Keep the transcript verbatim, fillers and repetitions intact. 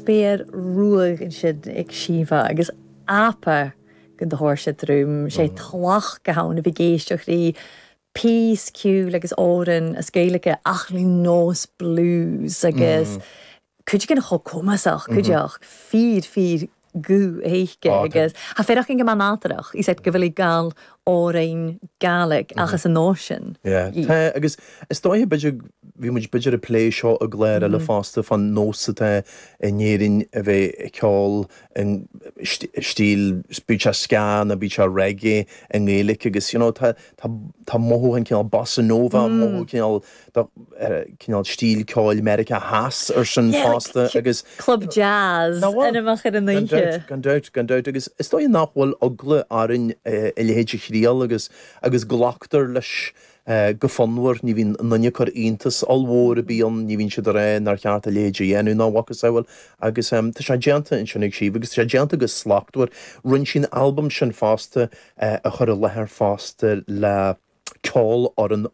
Spéir ruadh ansin ag Síomha agus apa go do thuair sé trom sé tlach go hann a bhí géisteach rí píosa ceoil agus amhrán as Gaeilge ach le nós blues agus cuid an chomh cumasach cuideach fíor fíor gu héike agus Tá féach go man nátarach í go bhfuil gal amhráin Gàidhlig agus an nósin. Tá agus is dóiche b'fhéidir bhí muid b'fhéidir ag plé seo i gclár eile fosta fan nós atá in Éirinn a bheith ag ceol in stíl bíodh sé ska nó bíodh sé reggae i nGaeilge agus you know, tá tá mothú an cineál bossa nova mothú cineál cineál stíl ceoil Meiriceá Theas ar sin fosta agus Club jazz ina ar an oíche. Gan dabht gan dabht agus is dóigh nach bhfuil eagla orainn a leithéid a thriail agus agus glactar leis go fonnmhar ní bhíonn aon chor iontas ollmhór a bíonn ní bhíonn siad ré nar cheart a leithéid a dhéanamh ná mhacasamhail agus tá sé déanta ansin ag Síomha agus tá sé déanta go slachtmhar rinne sí an albam sin fosta a chur i láthair fosta le ceolfhoireann